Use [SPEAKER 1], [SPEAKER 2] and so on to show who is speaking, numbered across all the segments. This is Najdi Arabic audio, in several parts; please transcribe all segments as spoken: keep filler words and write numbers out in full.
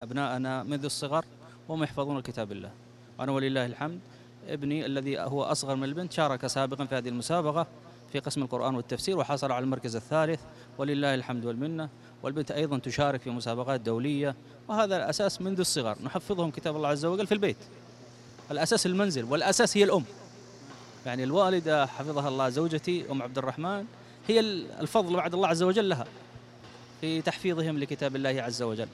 [SPEAKER 1] أبناءنا منذ الصغر وهم يحفظون كتاب الله. أنا ولله الحمد ابني الذي هو أصغر من البنت شارك سابقا في هذه المسابقة في قسم القرآن والتفسير وحصل على المركز الثالث ولله الحمد والمنة، والبنت أيضا تشارك في مسابقات دولية. وهذا الأساس منذ الصغر، نحفظهم كتاب الله عز وجل في البيت. الأساس المنزل والأساس هي الأم، يعني الوالدة حفظها الله زوجتي أم عبد الرحمن هي الفضل بعد الله عز وجل لها في تحفيظهم لكتاب الله عز وجل.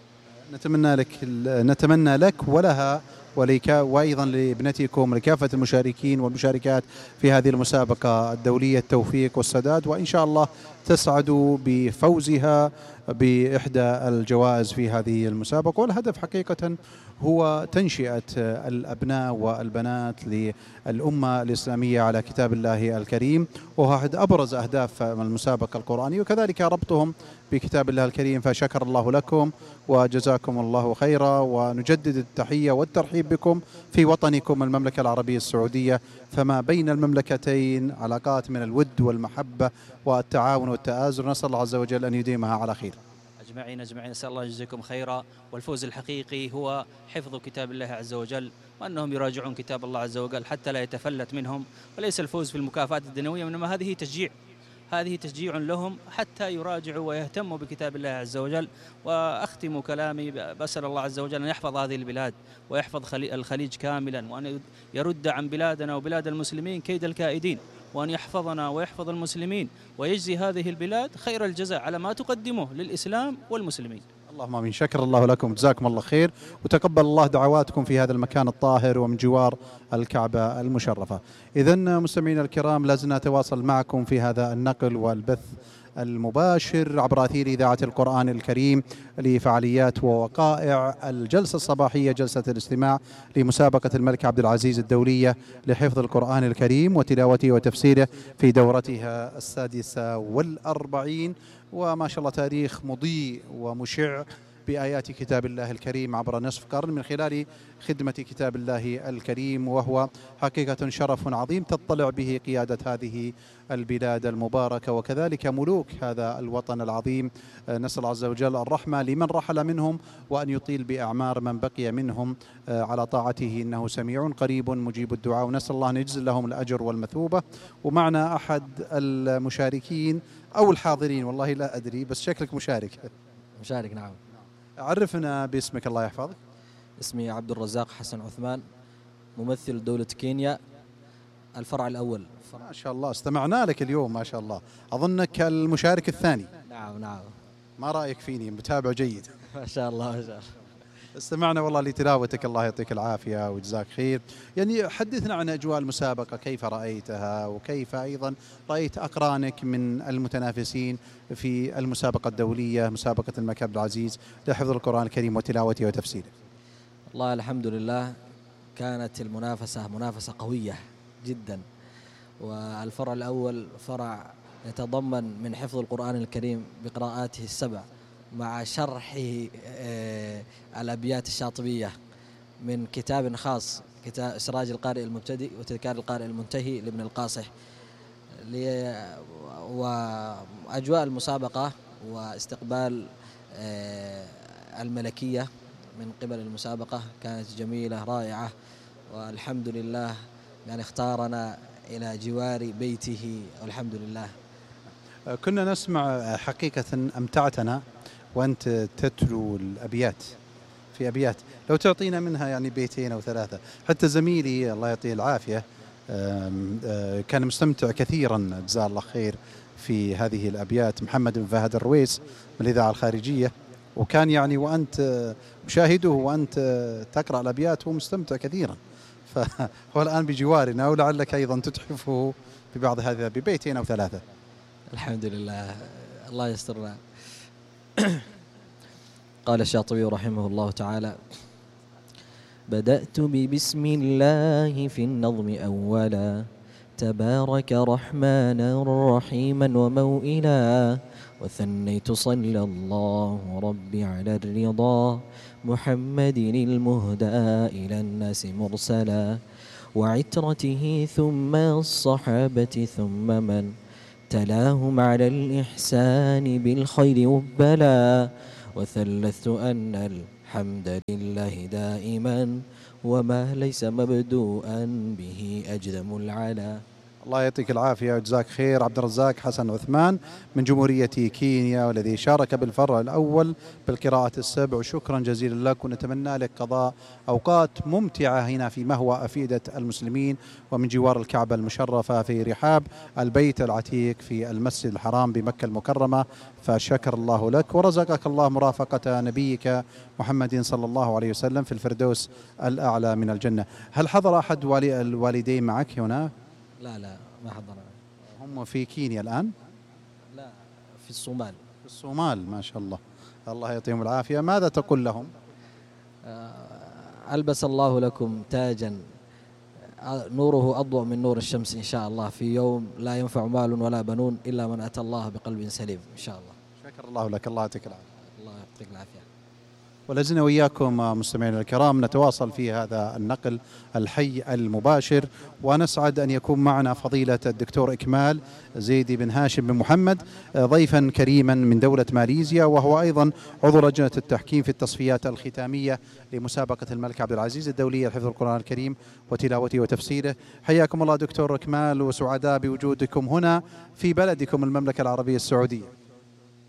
[SPEAKER 2] نتمنى لك نتمنى لك ولها ولك وأيضا لابنتكم ولكافة المشاركين والمشاركات في هذه المسابقة الدولية التوفيق والسداد، وإن شاء الله تسعدوا بفوزها بإحدى الجوائز في هذه المسابقة. والهدف حقيقة هو تنشئة الأبناء والبنات للأمة الإسلامية على كتاب الله الكريم، وهو أحد أبرز أهداف المسابقة القرآنية، وكذلك ربطهم بكتاب الله الكريم. فشكر الله لكم وجزاكم الله خيرا، ونجدد التحية والترحيب بكم في وطنكم المملكة العربية السعودية. فما بين المملكتين علاقات من الود والمحبة والتعاون والتآزر، نسأل الله عز وجل أن يديمها على خير.
[SPEAKER 1] أجمعين أجمعين، نسأل الله يجزيكم خيرا. والفوز الحقيقي هو حفظ كتاب الله عز وجل، وأنهم يراجعون كتاب الله عز وجل حتى لا يتفلت منهم، وليس الفوز في المكافآت الدنيوية، إنما هذه تشجيع هذه تشجيع لهم حتى يراجعوا ويهتموا بكتاب الله عز وجل. وأختم كلامي بأسأل الله عز وجل أن يحفظ هذه البلاد ويحفظ الخليج كاملا، وأن يرد عن بلادنا وبلاد المسلمين كيد الكائدين، وأن يحفظنا ويحفظ المسلمين ويجزي هذه البلاد خير الجزاء على ما تقدمه للإسلام والمسلمين.
[SPEAKER 2] اللهم آمين. شكر الله لكم، جزاكم الله خير، وتقبل الله دعواتكم في هذا المكان الطاهر ومن جوار الكعبة المشرفة. إذن مستمعينا الكرام، لازلنا نتواصل معكم في هذا النقل والبث المباشر عبر أثير إذاعة القرآن الكريم لفعاليات ووقائع الجلسة الصباحية، جلسة الاستماع لمسابقة الملك عبد العزيز الدولية لحفظ القرآن الكريم وتلاوته وتفسيره في دورتها السادسة والأربعين. وما شاء الله تاريخ مضيء ومشع بآيات كتاب الله الكريم عبر نصف قرن من خلال خدمة كتاب الله الكريم، وهو حقيقة شرف عظيم تطلع به قيادة هذه البلاد المباركة وكذلك ملوك هذا الوطن العظيم. نسأل الله عز وجل الرحمة لمن رحل منهم، وأن يطيل بأعمار من بقي منهم على طاعته، إنه سميع قريب مجيب الدعاء، ونسأل الله أن يجزل لهم الأجر والمثوبة. ومعنا أحد المشاركين أو الحاضرين، والله لا أدري، بس شكلك مشارك.
[SPEAKER 3] مشارك نعم.
[SPEAKER 2] عرفنا باسمك الله يحفظك.
[SPEAKER 3] اسمي عبد الرزاق حسن عثمان، ممثل دولة كينيا الفرع الأول.
[SPEAKER 2] ما شاء الله، استمعنا لك اليوم ما شاء الله، أظنك المشارك الثاني.
[SPEAKER 3] نعم نعم.
[SPEAKER 2] ما رأيك فيني؟ متابع جيد.
[SPEAKER 3] ما شاء الله ما شاء الله.
[SPEAKER 2] استمعنا والله لتلاوتك، الله يعطيك العافية وجزاك خير. يعني حدثنا عن أجواء المسابقة، كيف رأيتها، وكيف أيضا رأيت أقرانك من المتنافسين في المسابقة الدولية مسابقة الملك عبد العزيز لحفظ القرآن الكريم وتلاوته وتفسيره.
[SPEAKER 3] والله الحمد لله كانت المنافسة منافسة قوية جدا، والفرع الأول فرع يتضمن من حفظ القرآن الكريم بقراءاته السبع مع شرحه الأبيات الشاطبية من كتاب خاص، كتاب سراج القارئ المبتدئ وتذكار القارئ المنتهي لابن القاصح. وأجواء المسابقة واستقبال الملكية من قبل المسابقة كانت جميلة رائعة، والحمد لله يعني اختارنا إلى جوار بيته والحمد لله.
[SPEAKER 2] كنا نسمع حقيقة أمتعتنا وأنت تتلو الأبيات في أبيات، لو تعطينا منها يعني بيتين أو ثلاثة. حتى زميلي الله يعطيه العافية كان مستمتع كثيرا جزاه الله خير في هذه الأبيات، محمد بن فهد الرويس من الإذاعة الخارجية، وكان يعني وأنت مشاهده وأنت تقرأ الأبيات هو مستمتع كثيرا، فهو الآن بجوارنا، ولعلك أيضا تتحفه ببعض هذا ببيتين أو ثلاثة.
[SPEAKER 3] الحمد لله الله يسترنا. قال الشاطبي رحمه الله تعالى: بدأت ببسم الله في النظم أولا، تبارك رحمانا رحيما وموئلا، وثنيت صلى الله ربي على الرضا، محمد المهدى إلى الناس مرسلا، وعترته ثم الصحابة ثم من تلاهم على الإحسان بالخير وبلا، وثلثت أن الحمد لله دائما وما ليس مبدوءا به أجدم العلا.
[SPEAKER 2] الله يعطيك العافية وجزاك خير. عبد الرزاق حسن عثمان من جمهورية كينيا، والذي شارك بالفرع الأول بالقراءة السبع، وشكرا جزيلا لك، ونتمنى لك قضاء أوقات ممتعة هنا في مهوى أفئدة المسلمين ومن جوار الكعبة المشرفة في رحاب البيت العتيق في المسجد الحرام بمكة المكرمة. فشكر الله لك ورزقك الله مرافقة نبيك محمد صلى الله عليه وسلم في الفردوس الأعلى من الجنة. هل حضر أحد والي الوالدين معك هنا؟
[SPEAKER 3] لا لا ما حضر.
[SPEAKER 2] هم في كينيا الآن؟
[SPEAKER 3] لا في الصومال.
[SPEAKER 2] في الصومال، ما شاء الله، الله يعطيهم العافية. ماذا تقول لهم؟
[SPEAKER 3] ألبس الله لكم تاجا نوره أضوء من نور الشمس إن شاء الله، في يوم لا ينفع مال ولا بنون إلا من أتى الله بقلب سليم إن شاء الله.
[SPEAKER 2] شكر الله لك، الله يعطيك العافية.
[SPEAKER 3] الله يعطيك العافية.
[SPEAKER 2] ولازلنا وإياكم مستمعينا الكرام نتواصل في هذا النقل الحي المباشر، ونسعد أن يكون معنا فضيلة الدكتور إكمال زيدي بن هاشم بن محمد، ضيفا كريما من دولة ماليزيا، وهو أيضا عضو لجنة التحكيم في التصفيات الختامية لمسابقة الملك عبد العزيز الدولية لحفظ القرآن الكريم وتلاوته وتفسيره. حياكم الله دكتور إكمال، وسعداء بوجودكم هنا في بلدكم المملكة العربية السعودية.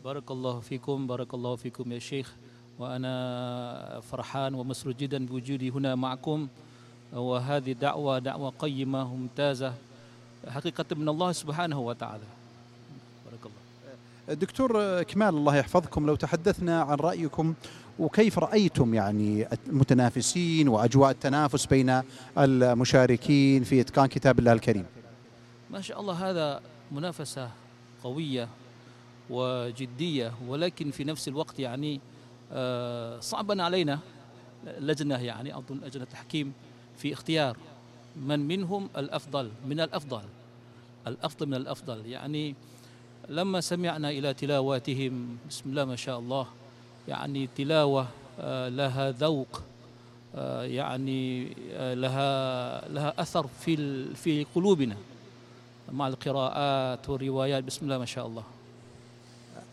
[SPEAKER 1] بارك الله فيكم، بارك الله فيكم يا شيخ، وأنا فرحان ومسرور جدا بوجودي هنا معكم، وهذه دعوة دعوة قيمة وممتازة حقيقة من الله سبحانه وتعالى. بارك الله.
[SPEAKER 2] دكتور إكمال الله يحفظكم، لو تحدثنا عن رأيكم وكيف رأيتم يعني المتنافسين وأجواء التنافس بين المشاركين في إتقان كتاب الله الكريم.
[SPEAKER 1] ما شاء الله، هذا منافسة قوية وجدية، ولكن في نفس الوقت يعني صعبا علينا لجنة، يعني أظن لجنة التحكيم في اختيار من منهم الأفضل من الأفضل الأفضل من الأفضل. يعني لما سمعنا إلى تلاواتهم بسم الله ما شاء الله، يعني تلاوة لها ذوق، يعني لها لها أثر في في قلوبنا مع القراءات والروايات. بسم الله ما شاء الله.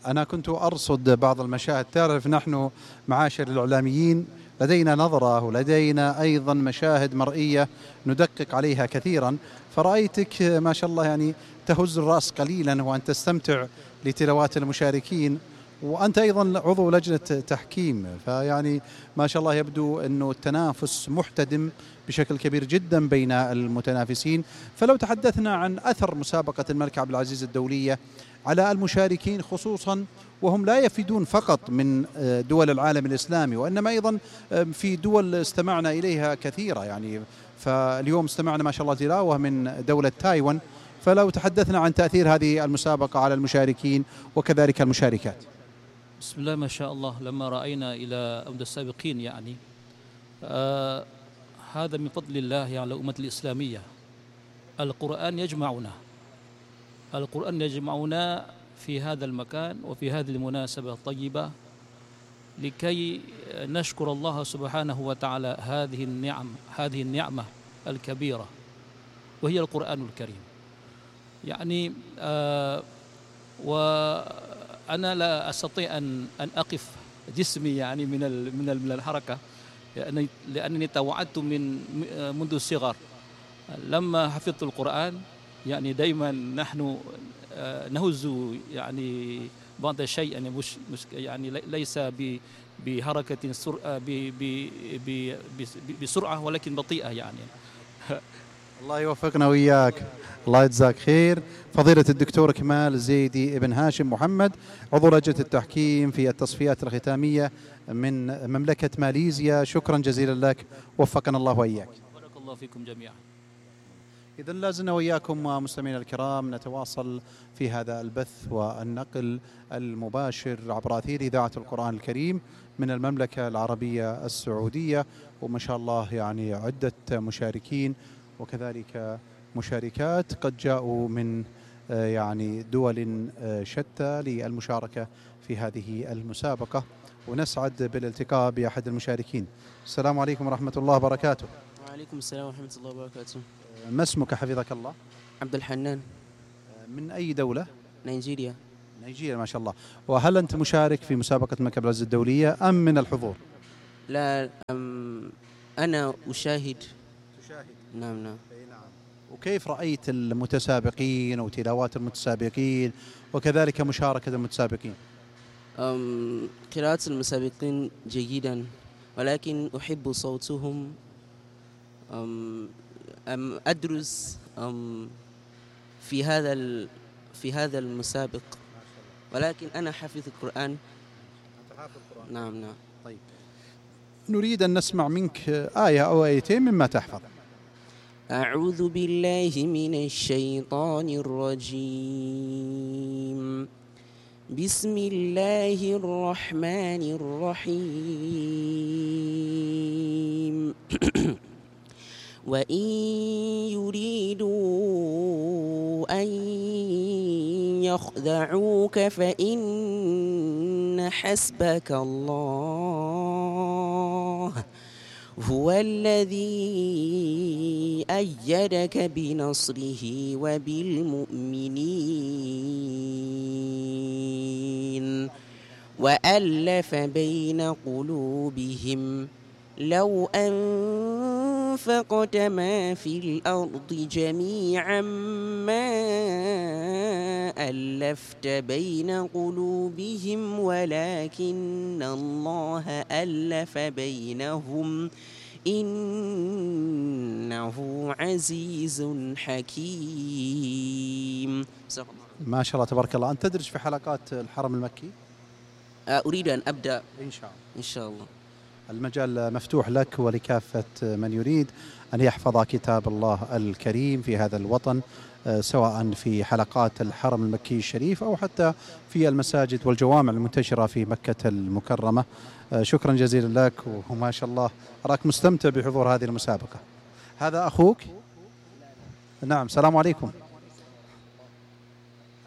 [SPEAKER 2] أنا كنت أرصد بعض المشاهد، تعرف نحن معاشر الإعلاميين لدينا نظرة ولدينا أيضا مشاهد مرئية ندقق عليها كثيرا، فرأيتك ما شاء الله يعني تهز الرأس قليلا وأن تستمتع لتلاوات المشاركين، وأنت أيضا عضو لجنة تحكيم، فيعني ما شاء الله يبدو أنه التنافس محتدم بشكل كبير جدا بين المتنافسين. فلو تحدثنا عن أثر مسابقة الملك عبد العزيز الدولية على المشاركين، خصوصا وهم لا يفيدون فقط من دول العالم الإسلامي، وإنما أيضا في دول استمعنا إليها كثيرة، يعني فاليوم استمعنا ما شاء الله تلاوة من دولة تايوان. فلو تحدثنا عن تأثير هذه المسابقة على المشاركين وكذلك المشاركات.
[SPEAKER 1] بسم الله ما شاء الله، لما رأينا إلى أمد السابقين يعني آه هذا من فضل الله على الأمة الإسلامية. القرآن يجمعنا، القرآن يجمعنا في هذا المكان وفي هذه المناسبة الطيبة لكي نشكر الله سبحانه وتعالى هذه النعم هذه النعمة الكبيرة وهي القرآن الكريم. يعني آه وأنا لا أستطيع أن أن أقف جسمي يعني من من من الحركة، لأنني لأنني توعدت من منذ الصغر لما حفظت القرآن. يعني دائما نحن نهز يعني بعض الشيء، يعني مش مش يعني ليس بحركة سرعة بسرعة ولكن بطيئة يعني.
[SPEAKER 2] الله يوفقنا وإياك، الله يجزاك خير. فضيلة الدكتور إكمال زيدي ابن هاشم محمد، عضو لجنة التحكيم في التصفيات الختامية من مملكة ماليزيا، شكرا جزيلا لك، وفقنا الله وإياك.
[SPEAKER 1] بارك الله فيكم جميعا.
[SPEAKER 2] إذن لازلنا وإياكم مستمعينا الكرام نتواصل في هذا البث والنقل المباشر عبر أثير إذاعة القرآن الكريم من المملكة العربية السعودية، وما شاء الله يعني عدة مشاركين وكذلك مشاركات قد جاءوا من يعني دول شتى للمشاركة في هذه المسابقة، ونسعد بالالتقاء بأحد المشاركين. السلام عليكم ورحمة الله وبركاته.
[SPEAKER 4] وعليكم السلام ورحمة الله وبركاته.
[SPEAKER 2] ما اسمك حفظك الله؟
[SPEAKER 4] عبد الحنان.
[SPEAKER 2] من أي دولة؟
[SPEAKER 4] نيجيريا.
[SPEAKER 2] نيجيريا ما شاء الله. وهل أنت مشارك في مسابقة الملك عبد العزيز الدولية أم من الحضور؟
[SPEAKER 4] لا أم أنا أشاهد.
[SPEAKER 2] تشاهد.
[SPEAKER 4] نعم نعم.
[SPEAKER 2] وكيف رأيت المتسابقين وتلاوات المتسابقين وكذلك مشاركة المتسابقين؟
[SPEAKER 4] أم قراءة المسابقين جيدا، ولكن أحب صوتهم. أم أم أدرس أم في هذا ال في هذا المسابق، ولكن أنا حافظ القرآن. نعم نعم.
[SPEAKER 2] طيب، نريد أن نسمع منك آية أو آيتين مما تحفظ.
[SPEAKER 4] أعوذ بالله من الشيطان الرجيم. بسم الله الرحمن الرحيم. وإن يريدوا أن يخدعوك فإن حسبك الله هو الذي أيدك بنصره وبالمؤمنين وألف بين قلوبهم لو أنفقت ما في الأرض جميعا ما ألفت بين قلوبهم ولكن الله ألف بينهم إنه عزيز حكيم.
[SPEAKER 2] ما شاء الله تبارك الله. أنت تدرس في حلقات الحرم المكي؟
[SPEAKER 4] أريد أن أبدأ
[SPEAKER 2] إن شاء الله.
[SPEAKER 4] إن شاء الله.
[SPEAKER 2] المجال مفتوح لك ولكافة من يريد أن يحفظ كتاب الله الكريم في هذا الوطن، سواء في حلقات الحرم المكي الشريف أو حتى في المساجد والجوامع المنتشرة في مكة المكرمة. شكرا جزيلا لك، وما شاء الله أراك مستمتع بحضور هذه المسابقة. هذا أخوك؟ نعم. السلام عليكم.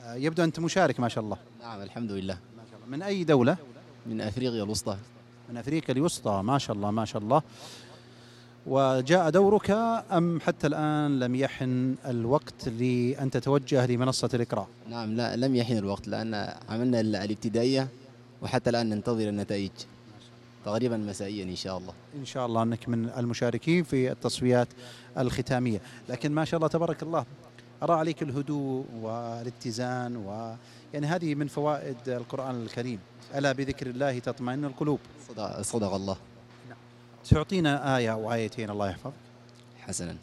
[SPEAKER 2] يبدو أنت مشارك ما شاء الله.
[SPEAKER 5] نعم الحمد لله.
[SPEAKER 2] من أي دولة؟
[SPEAKER 5] من أفريقيا الوسطى.
[SPEAKER 2] من أفريقيا الوسطى. ما شاء الله ما شاء الله. وجاء دورك أم حتى الآن لم يحن الوقت لأن تتوجه لمنصة الإقراء؟
[SPEAKER 5] نعم، لا لم يحن الوقت لأن عملنا الابتدائية وحتى الآن ننتظر النتائج تقريبا مسائيا إن شاء الله.
[SPEAKER 2] إن شاء الله أنك من المشاركين في التصفيات الختامية. لكن ما شاء الله تبارك الله أرى عليك الهدوء والاتزان، ويعني هذه من فوائد القرآن الكريم. ألا بذكر الله تطمئن القلوب.
[SPEAKER 5] صدق, صدق الله.
[SPEAKER 2] تعطينا آية أو آيتين الله يحفظ.
[SPEAKER 5] حسنا.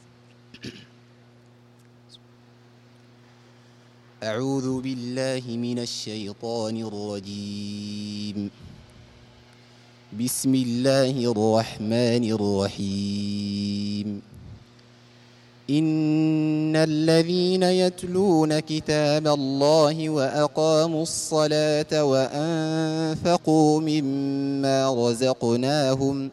[SPEAKER 5] أعوذ بالله من الشيطان الرجيم. بسم الله الرحمن الرحيم. إن الذين يتلون كتاب الله وأقاموا الصلاة وأنفقوا مما رزقناهم